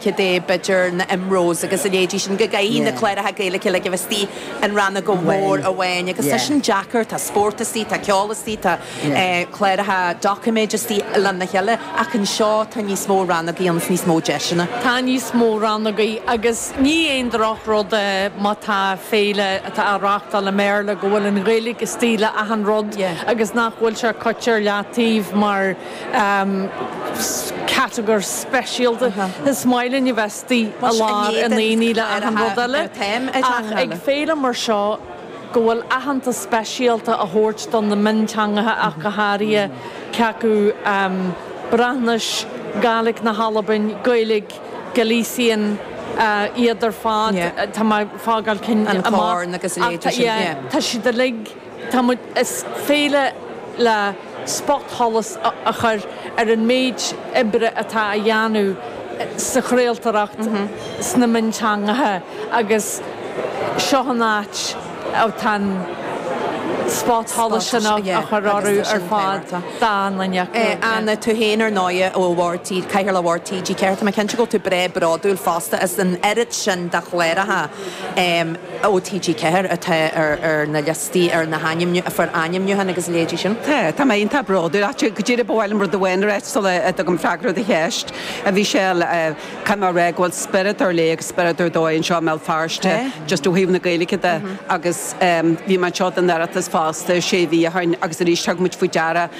Gaeilge de, b'fhéidir na IMROs agus a leithéidí sin, go gcaithfidh na cláracha Gaeilge uilig a bheith istigh in rannóg mhór amháin agus tá sin deacair, tá spórt istigh, tá ceol istigh, tá cláracha doiciméid istigh lena chéile ach anseo tá níos mó rannógaí ann is níos mó deiseanna. Tá níos mó rannógaí agus ní aon drochrud é má tá féile atá á reáchtáil i mBéarla go bhfuil an Ghaeilge istigh le achan rud agus nach bhfuil sé caite ar leataobh mar catagóir speisialta. Is maith linn a bheith istigh i lár an aonaigh le achan rud eile ach ag féile mar seo go bhfuil aitheantas speisialta á thabhairt do na mionteangacha ach go háirithe cé acu Breatnais, Gàidhlig na hAlbain, Gaeilge, Galician, iad ar fad, tá mé ag fágáil cinn amach. An Corn agus a leithéidí sin, yeah. Tá siad uilig, tá muid, is féile le spotsholas a chur ar an méid oibre atá á dhéanamh sa chraoltóireacht sna mionteangacha agus seo an áit atá an spotsholas sin á chur orthu ar fad d'achan duine acu. Anna, tú féin ar ndóighe ó Bhord T, Cathaoirleach Bhord TG4, tá mé cinnte go bhfuil tú breá bródúil fosta as an oiread sin de chláracha ó TG4 atá ar na liostaí, ar na hainmniú, a fuair ainmniúchán agus a leithéidí sin. Tá, tá mé iontach bródúil. Ach go díreach ba mhaith liom rud amháin a ráit sula dtugaim freagra ar do cheist, a Mhichelle. Caithfidh mé a rá go bhfuil spiorad ar leith agus spiorad ar dóigh anseo i mBéal Feirste just ó thaobh na Gaeilge de agus bhí mé anseo don Oireachtas fosta sé mhí ó shin agus arís thug muid faoi deara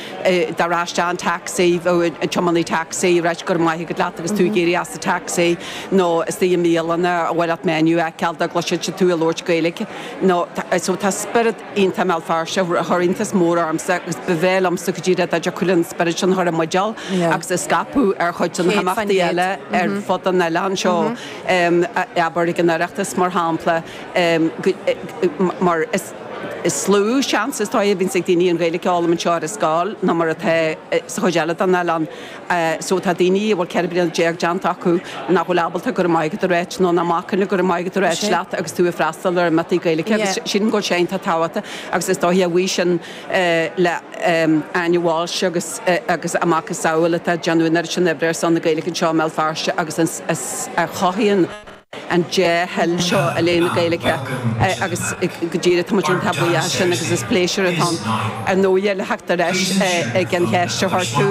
dá rachfá isteach in taxi, bheadh an tiománaí taxi ag ráit go raibh maith agat leat agus tú ag éirí as an taxi nó istigh i mbialanna ar mhaith leat menu a fheiceáil dá gcloisfeadh siad tú ag labhairt Gaeilge nó so tá spiorad iontach i mBéal Feirste a chuir iontas mór ormsa agus ba bhreá liomsa go díreach dá dtiocfadh linn an spiorad sin a chur i mbuidéal agus a scaipeadh ar chuid de na himeachtaí eile ar fud an oileáin seo, abair ag an Oireachtas mar shampla, mar is is lú seans is dóigh a bhíonns ag daoine an Ghaeilge a fhoghlaim anseo ar an scoil ná mar atá sa chuid eile den oileán. So tá daoine a bhfuil 14 bliana déanta acu nach bhfuil ábalta go raibh maith agat a ráit nó nach mbacann le go raibh maith agat a ráit leat agus tú ag freastal ar imeachtaí Gaeilge agus sílim go bhfuil sé iontach tábhachtach agus is dóiche a bhuí sin le Áine Walsh agus agus a macasamhail atá ag déanamh an oiread sin oibre ar son na Gaeilge anseo i mBéal Feirste agus a chothaíonn an dea-thoil seo i leith na Gaeilge agus go díreach tá muid iontach buíoch as sin agus is pléisiúr atá ann ar ndóighe le theacht ar ais ag an cheist a chuir tú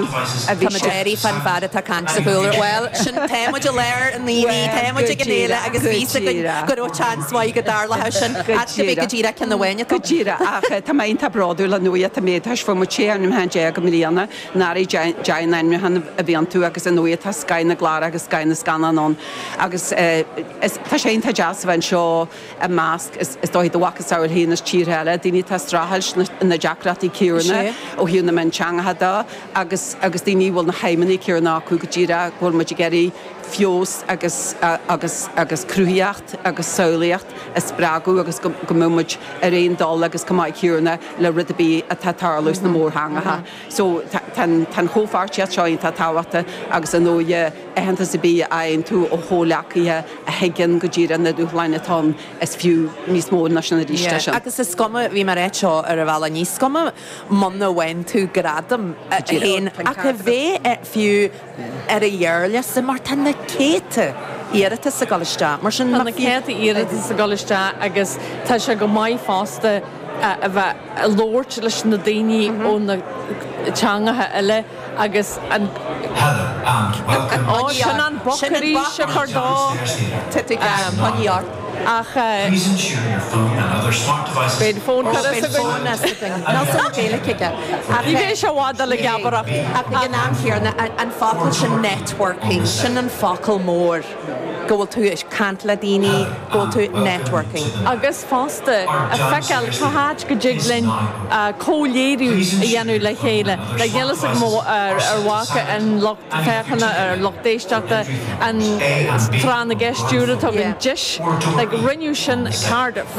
a bhí Tá muid ag éirí fán bhfear atá ag caint sa chúlra. Bhuel, sin, tá muid i lár an aonaigh, tá muid ag an fhéile agus bhí fhios againn go raibh seans mhaith go dtarlódh sin. Ach go go díreach ceann amháin atá. Go díreach, ach tá mé iontach bródúil ar ndóighe tá mé, tá fuair muid 16 ainmniúchán i mbliana Anuraidh 10 n-ainmniúchán a bhí iontu agus ar ndóighe tá scoth na gclár agus scoth na scannán ann agus is tá sé iontach deas a bheith anseo i measc is dóigh do mhacasamhail féin as tíortha eile, daoine atá ag streachailt na deacrachtaí céanna ó thaobh na mionteangacha de agus agus daoine a bhfuil na haidhmeanna céanna acu go díreach go bhfuil muid ag iarraidh feabhas agus agus agus cruthaíocht agus samhlaíocht a spreagadh agus go go mbeadh muid ar aon dul agus chomh maith céanna le rud ar bith atá ag tarlú sna mórtheangacha. So tá an chomhpháirtíocht seo iontach tábhachtach agus ar ndóighe aitheantas ar bith a fhaigheann tú ó chomhghleacaithe a thuigeann go díreach na dúshláin atá ann, is fiú níos mó ná sin arís é sin. Agus is cuma, bhí mé ag ráit seo ar an bhealach, ní cuma muna bhfaigheann tú gradam féin ach a bheith fiú ar an ghearrliosta mar tá na céadta iarratas ag dul isteach. Mar sin Tá na céadta iarratas ag dul isteach agus tá sé go maith fosta a bheith ag labhairt leis na daoine ó na teangacha eile agus an Ó, sin an boc arís a chur dó. Ach beidh an fón curtha as againn. Ní bheidh sé i bhfad dul ag geabaireacht. Ach ag an am chéanna, an focal sin networking, sin an focal mór. go bhfuil tú ag caint le daoine, go bhfuil tú networking. Agus fosta, a feiceáil cá háit go dtig linn comhléiriú a dhéanamh le chéile. Like, níl fhios agam ar bhfaca an lucht féachana, ar lucht éisteachta, an Tráth na gCeist úr atá againn, Deis. Like, rinneadh sin i Cardiff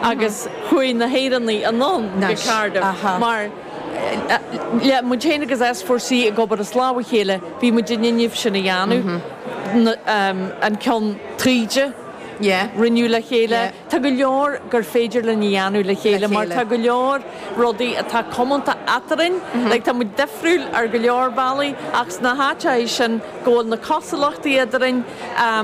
agus chuaigh na hÉireannaigh anonn go Cardiff mar le muid féin agus S4C ag obair as lámh a chéile, bhí muid in innimh sin a dhéanamh. An ceann taoide, rinneadh le chéile. Tá go leor gur féidir linn a dhéanamh le chéile mar tá go leor rudaí atá comónta eadrainn. Like tá muid difriúil ar go leor bealaí ach sna háiteacha sin go bhfuil na cosúlachtaí eadrainn.